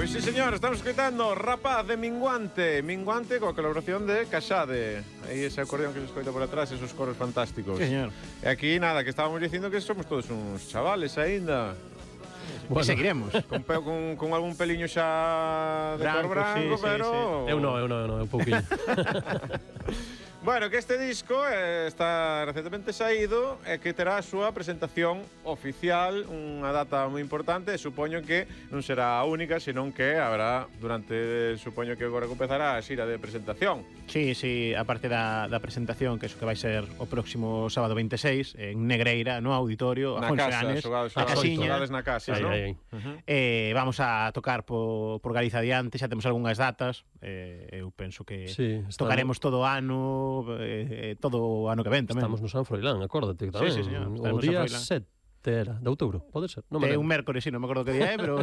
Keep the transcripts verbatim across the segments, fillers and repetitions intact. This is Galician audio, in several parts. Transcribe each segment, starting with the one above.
Pois sí, señor, estamos escoitando Rapaz de Minguante. Minguante coa colaboración de Casade. Aí ese acordeón que se escoita por atrás, esos coros fantásticos. Sí, señor. E aquí, nada, que estábamos dicindo que somos todos uns chavales aínda. Bueno. E seguiremos. Con, pe, con, con algún peliño xa de cor branco, sí, pero... Sí, sí. Eu non, eu non, eu non, un pouquinho. Bueno, que este disco eh, está recentemente saído e que terá a súa presentación oficial, unha data moi importante, e supoño que non será a única, senón que habrá durante, supoño que agora empezará a xira de presentación. Sí, sí, a parte da, da presentación, que eso que vai ser o próximo sábado veintiséis en Negreira, no auditorio, na a casa, Fonseanes, xogades, a xogades, casiña. na casa, Aí, non? aí, aí. Uh-huh. Eh, vamos a tocar por, por Galiza adiante, xa temos algunhas datas, eh, eu penso que Sí, estamos- tocaremos todo o ano, eh, todo o ano que ven tamén. Estamos no San Froilán, acórdate que tamén. Sí, sí, señor, O estaremos no día San Froilán. sete era, de outubro, pode ser? Non me É lembro. un mércores, sí, non me acordo que día é, pero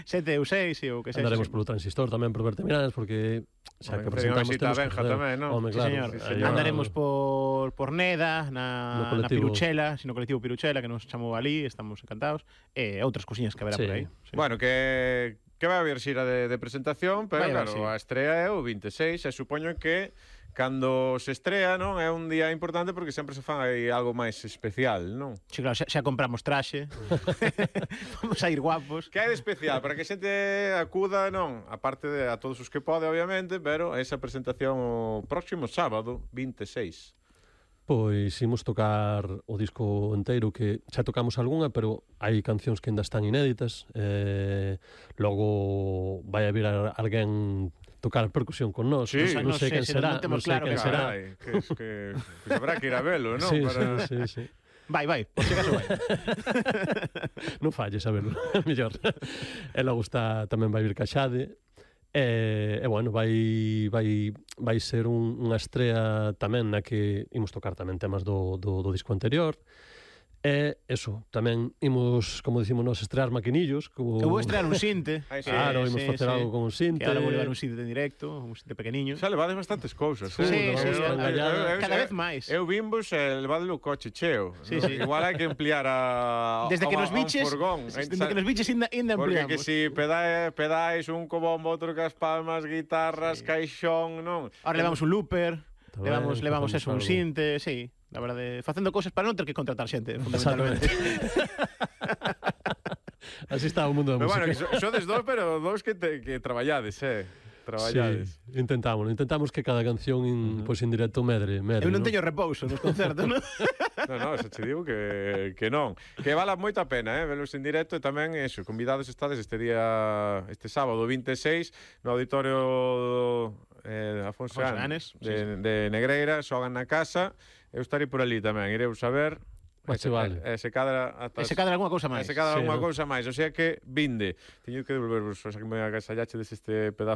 sete ou seis, ou que sexa. Andaremos polo transistor tamén por verte Miráns, porque xa Home, que pero presentamos unha visita a temos que Benja facer. tamén, non? Home, Sí, claro. señor. sí, Aí, señor. Andaremos por, por Neda, na, No na colectivo. Piruchela, sino colectivo Piruchela, que nos chamou ali, estamos encantados, e outras cousiñas que haberá Sí. por aí. Sí. Bueno, que que vai haber xira de, de presentación, pero Vai haber, claro, sí. a estrea é o veintiséis, e supoño que cando se estrea, non, é un día importante porque sempre se fan aí algo máis especial, non? Sí, claro, xa, xa compramos traxe, vamos a ir guapos. Que hai de especial para que a xente acuda, non? A parte de a todos os que pode, obviamente, pero esa presentación o próximo sábado, veintiséis. Pois imos tocar o disco enteiro, que xa tocamos algunha, pero hai cancións que ainda están inéditas. Eh, logo vai haber a- alguén tocar percusión con nós. Sí. non, non Non sei sei, quen se será, non temos non sei claro quen que será. Carai, que, es que, que habrá que ir a velo, non? Sí, Para... sí, sí, sí. Vai, vai, por si acaso vai. Non falles, a verlo, mellor. E logo está, tamén vai vir Caxade. E, e bueno, vai, vai, vai ser un, unha estrea tamén na que imos tocar tamén temas do, do, do disco anterior. E eso, tamén imos, como dicimos nós, estrear maquinillos. Como... Eu vou estrear un sinte. Ai, sí. Claro, imos sí, facer sí. algo con un sinte. Que agora vou levar un sinte en directo, un sinte pequeniño. Xa levades bastantes cousas, Sí, eh? sí, Eu- sí, eu- eu- eu- cada eu- vez máis. Eu vimbos e levadle o coche cheo. Sí, non? sí. Igual hai que ampliar a Desde que a- nos a un biches, furgón. desde que nos biches ainda, ainda Porque ampliamos. que si pedais, pedais un co bombo, outro cas palmas, guitarras, sí. caixón, non? Ahora levamos un looper, Tamén levamos, levamos facemos eso, un algo. sinte, sí. La verdade, facendo cosas para non ter que contratar xente, fundamentalmente. Así está o mundo da Pero bueno, música. que so, sodes dous, pero dous que, te, que traballades, eh? Traballades. Sí, intentamos, intentamos que cada canción in, uh-huh. pois en directo medre, medre. Eu non ¿no? teño repouso nos concertos, non? No, no, xa che digo que, que non. Que vala moita pena, eh, velos en directo, e tamén, eso, convidados estades este día, este sábado veintiséis, no auditorio eh, Afonso Afonso Anes, Anes, sí, de, sí. de Negreira, xogan na casa, eu estarei por ali tamén, ireu saber. Mas che vale. E se cadra ata E se cadra algunha cousa e máis. se cadra Sí, algunha ¿no? cousa máis, o sea que vinde. Teño que devolvervos, o sea que me agasallache deste pedazo